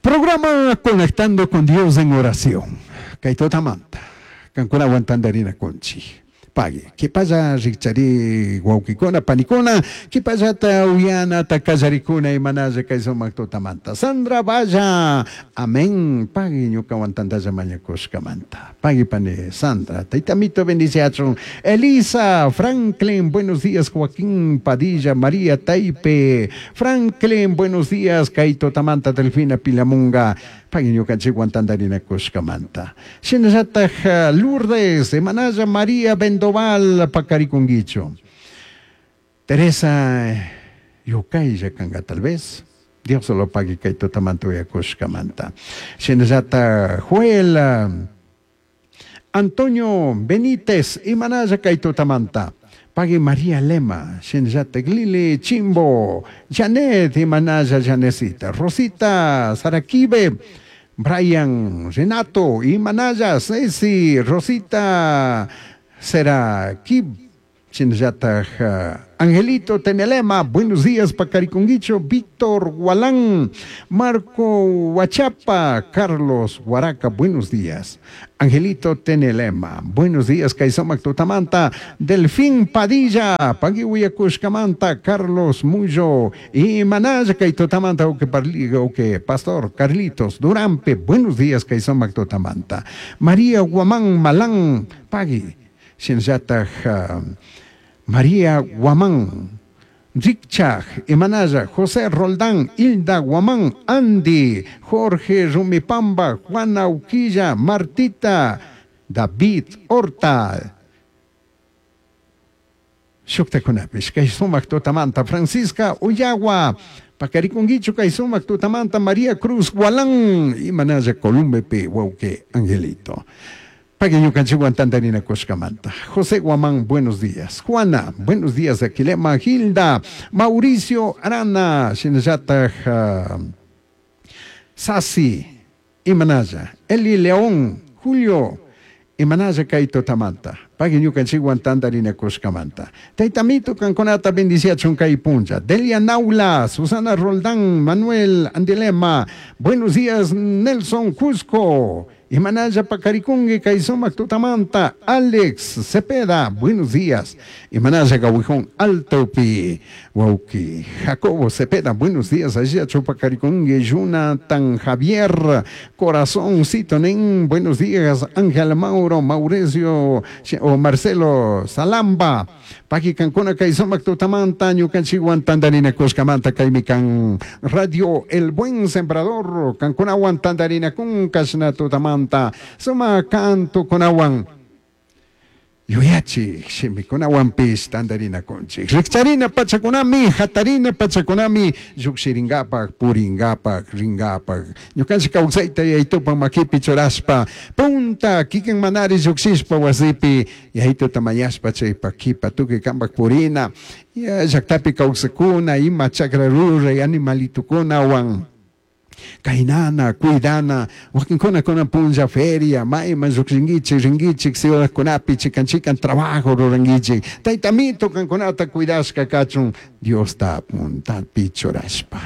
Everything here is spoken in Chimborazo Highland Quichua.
Programa Conectando con Dios en Oración. Kay tutamanta. Kankunawan tantarinakunchik. Pagui. Kipalla rikchari wawkikuna, panikuna, kipallata uyanata kallarikuna imanalla kay sumak tutamanta. Sandra Valla, amén. Pagui ñukawan tantalla mañakushkamanta. Pagui pani Sandra, taytamito bendiciachun. Elisa, Franklin, buenos días. Joaquín Padilla, María Taipe, Franklin, buenos días. Kay tutamanta Delfina Pilamunga. Pagui ñukanchikwan tantarinakushkamanta. Shinallataj Lourdes, Emanalla María Bendoval, pakarikunguichu. Teresa Yukaylla kanga tal vez. Dios lo pague kay tutamanta uyakushkamanta. Shinallata Joel Antonio Benítez, imanalla kay tutamanta. Pagui María Lema, shinallata Lili Chimbo, Janet, imanalla Janecita, Rosita Saraquibe, Brian Renato, imanalla Ceci, Rosita Seraquib, shinallata Angelito Tenelema, buenos días Pacariconguicho, Víctor Gualán, Marco Huachapa, Carlos Huaraca, buenos días. Angelito Tenelema, buenos días Kaisomac Tutamanta, Delfín Padilla, Paguihuiacushcamanta, Carlos Muyo, y Manaya Kaitotamanta, oque Pastor Carlitos Durampe, buenos días Kaisomac Tutamanta, María Guamán Malán, Pagui, Shinllataj María Guamán, Rikchaj, Imanaya, José Roldán, Hilda Guamán, Andy, Jorge Rumipamba, Juana Uquilla, Martita, David Horta. Shuktakunapish, kay sumak tutamanta, Francisca Ullagua, Pacarikunguichu kay sumak tutamanta, María Cruz Gualán, Imanaya Columbepe, Wauque Angelito. Pagueñucanchihuan tantarina Coscamanta. José Guamán, buenos días. Juana, buenos días. Aquilema Gilda, Mauricio Arana, Shinayata Sasi, Imanaya, Eli León, Julio, Imanaya Kaito Tamanta. Pagueñucanchihuan tantarina Coscamanta. Taitamito Canconata bendiciachun Puncha. Delia Naula, Susana Roldán, Manuel Andilema. Buenos días, Nelson Cusco. Imanaya Pacarikungue, Kaisomac Tutamanta, Alex Cepeda, buenos días. Imanaya Gawijón Altopi, Wauki, Jacobo Cepeda, buenos días. Allá Chupacarikungue, Jonathan Javier, Corazón Citonen, buenos días. Ángel Mauro, Mauricio o Marcelo Salamba, Paqui Cancuna, Kaisomac Tutamanta, Ñucanchiguan Tandarina Coscamanta, Caimican, Radio El Buen Sembrador, Cancunahuan Tandarina Cuncasna Tutamanta. Suma canto kunawan yuyachik shimikunawanpish tantarinakunchik rikcharina pachakunami hatarina pachakunami llukshirinkapak purinkapak rinkapak ñukanchik kawsayta yaytupak makipi churashpa punta kikin manari llukshishpa wasipi yaytuta mañashpa chaypak kipa tukuy kampak purina llaktapi kawsakuna ima chakra ruray animalitukunawan Kainana, cuidana, wakinkuna kuna punlla feria, mayman llukshinkichik, rinkichik, ciudadkunapi, chikan chikan trabajo rurankichik. Taytamito kankunata cuidashka kachun, Diosta puntapi churashpa.